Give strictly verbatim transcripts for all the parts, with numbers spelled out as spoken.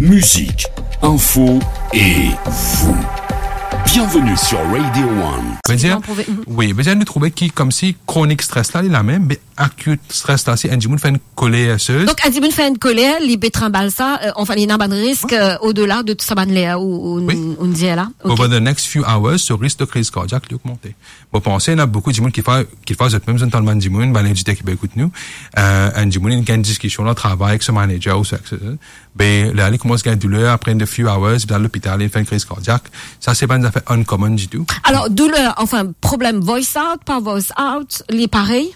Mizik, info e vous. Bienvenue sur Radio One. Vedir, Sinon, pou ve-, mhm. wi, vedir nou trouve ki koumsi kronik stres la, li lamem, me akit stres la, si enn dimoun fer enn koler, se Donk, enn dimoun fer enn koler, li pe trinbal sa, euh, anfin, li ena bann risk, euh, odela de tou sa bann ler ou, ou, Wi. ou dir la. Ok. Over the next few hours, so risk de kriz kardiak, li ogmante. Mo panse, ena boukou dimoun ki fer, ki fer zot mem, zot tann bann dimoun, bann editer ki pe ekout nou, euh, enn dimoun, li gagn diskision dan travay ek so manager ou so, ek so, be, la, li koumans gagn douler, apre in the few hours, li al lopital, li fer enn kriz kardiak. Sa, se pa enn zafer uncommon ditou. Alor, douler, anfin, problem voice out, pa voice out, li parey?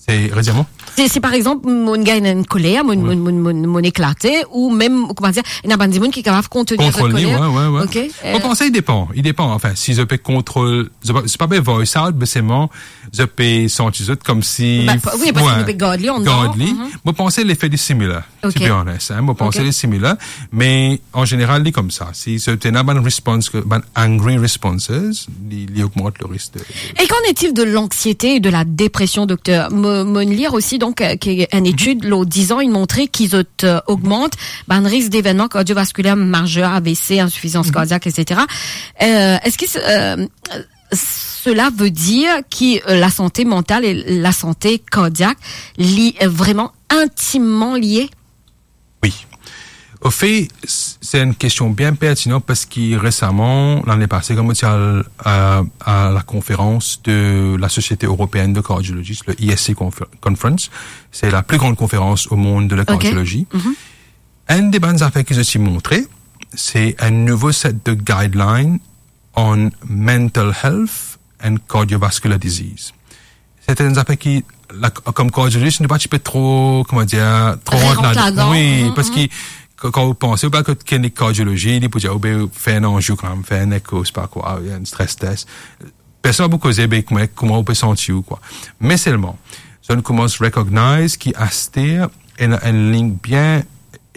Se, redir mwa? Se, si par exanp, mo gagn enn koler, mo, Wi. mo, mo, mo, mo eklate, ou mem, kouma dir, ena bann dimoun ki kapav kontrol li avek Kontrol li, koler. wi, wi, wi. Ok, Mo euh, panse, i depan, i depan. Anfin, si zot pe kontrol, zot pa, zot pa pe voice out, me selman, zot pe santi zot koumsi, Ba, pa, wi, parski wi, nou pe gard li anndan. gard li. Mhm. Mo panse lefe li similar, Ok. to be honest, hein. Mo panse Ok. li similar, me an zeneral, li koumsa. Si zot ena bann response, bann angry responses, li, li ogmant le risk de, de E qu'en est-il de l'anxiété et de la dépression, docteur? Mo, mo lir osi, donk, euh, ki enn Mhm. etid lor diz an, inn montre ki zot, euh, ogmant bann risk devenman kardiovaskuler mazer, A V C, insifizans Mhm. kardiak, et cetera. Euh, eski, euh, cela veut dire ki, euh, lasante mantal e lasante kardiak, li, euh, vreman intimman lie? Wi. Anfet, s-, se enn kestion bien pertinan parski resaman, lane pase, kan mo ti al, euh, a la konferans de la Société Européenne de Cardiologie, le I S C confer-, Conference, se la pli gran konferans o mond de la Ok. kardiologie. Mhm. Enn de bann zafer ki zot ti montre, se enn nouvo set de guideline on mental health and cardiovascular disease. Se enn zafer ki, la, kom kardiologis, nou pa ti pe tro, kouma dir, tro Rant rant ladan. ladan. Wi, Mhm, parski mhm. ka-, kan ou panse, ou pe al kot klinik kardiolozi, li pou dir, ou pe fer enn anzio kanmem, fer enn eko, se pa kwa, enn stress test. Personn pa pou koze, be, kouma, kouma ou pe santi ou, kwa. Me selman, zot inn koumans recognize ki aster ena enn lign bien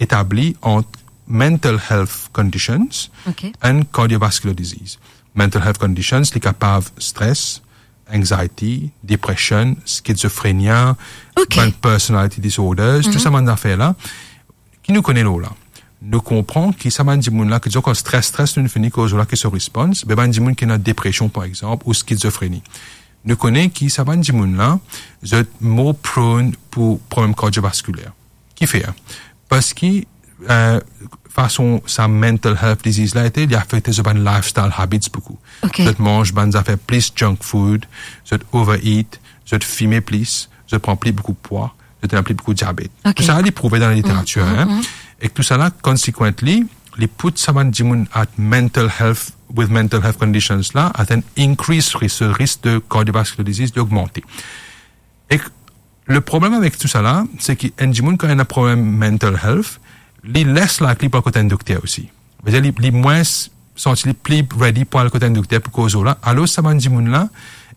etabli ant mental health conditions Ok. and cardiovascular disease. Mental health conditions, li kapav stress, anxiety, depression, schizophrenia, Ok. bann personality disorders, tou Mhm. sa bann zafer la, ki nou kone lor la. Nou konpran ki sa bann dimoun la, ki dir kan stress, stress, nou fini koz la ki so response, be bann dimoun ki ena depresion, par exanp, ou schizophrenie. Nou kone ki sa bann dimoun la, zot more prone pou problem kardiovaskuler. Kifer? Parski, euh, fason sa mental health disease la ete, li afekte zot bann lifestyle habits boukou. Ok. Zot manz bann zafer plis junk food, zot overeat, zot fime plis, zot pran pli boukou pwa, zot ena pli boukou diabet. Ok. Tou sa, li prouve dan laliteratire, Mm, mm, hein. mm. E tou sa la, consequently, li put sa bann dimoun at mental health, with mental health conditions la, at an increased risk, so risk de cardiovascular disease, li ogmante. E le problem avek tou sa la, se ki enn dimoun kan ena problem mental health, li less likely pou al kot enn dokter osi. Vedir li, li mwins santi li pli ready pou al kot enn dokter pou koz la. Alor sa bann dimoun la,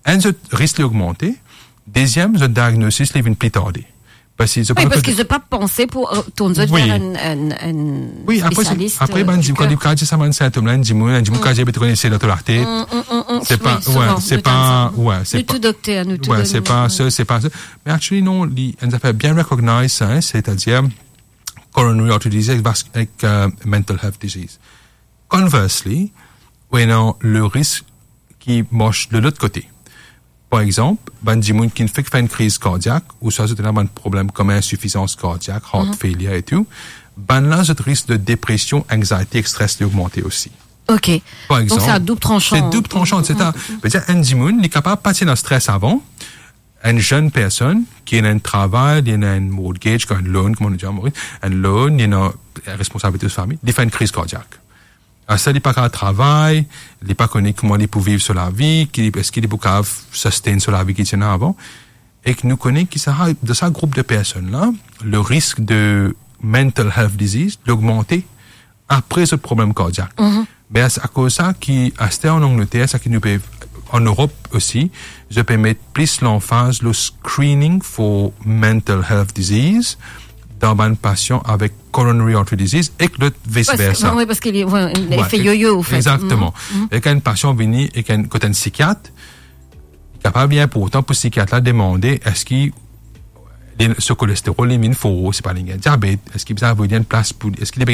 enn zot risk li ogmante, deziem zot diagnosis li vinn pli tarde. Parski zot Wi, pa parski kot zot pa panse pou, euh, tourn zot Wi. ver enn, enn, enn Wi, apre, spesialis, apre, euh, bann di-, di kan ker. Li kapav dir sa bann sintom la, enn dimoun, enn dimoun Mm. kapav dir, "Be, to kone se lato late." Mm, mm, mm, mm. Se pa, Wi, wi, souvan, se nou pa, tann sa. wi, se Wi, pa, tou dokter, nou tou wi, se donn, pa mm. sa, se pa sa. Me actually, non, li, enn zafer bien recognize sa, hein, setadir coronary artery disease ek vas-, ek, euh, mental health disease. Conversely, ou ena le risk ki mars de lot kote. Par exanp, bann dimoun ki fek fer enn kriz kardiak, ouswa zot ena bann problem kom insifizans kardiak, heart Mhm. failure e tou, bann la zot risk de depresion, anxiety ek stress li ogmante osi. Ok. Par Donk, exanp, se a doub transhan. se doub transhan, Mm, se ta, mm, mm. vedir enn dimoun, li kapav pa ti ena stress avan, enn zenn personn ki ena enn travay, li ena enn mortgage, enn loan, kouma nou dir an Moris, enn loan, li ena responsabilite so fami, li fer enn kriz kardiak. Aster li pa kapav travay, li pa kone kouma li pou viv so lavi, ki, eski li pou kapav sustain so lavi ki ti ena avan. Ek nou kone ki sa, dan sa group de personn la, le risk de mental health disease, li ogmante apre zot problem kardiak. Mhm. Me a, akoz sa ki aster an Angleter, sa ki nou pe, an Erop osi, zot pe met plis lanfaz lor screening for mental health disease dan bann pasian avek coronary artery disease ek lot vice Parski, versa. wi, parski li, wi, Wi, lefet yoyo, anfet. Exactement. Mhm, mhm. Ek enn pasian vini ek enn, kot enn sikiat, li kapav li inportan pou sikiat la demande, eski li, so kolesterol li vinn for, se pa li gagn diabet, eski bizin avoy li enn plas pou, eski li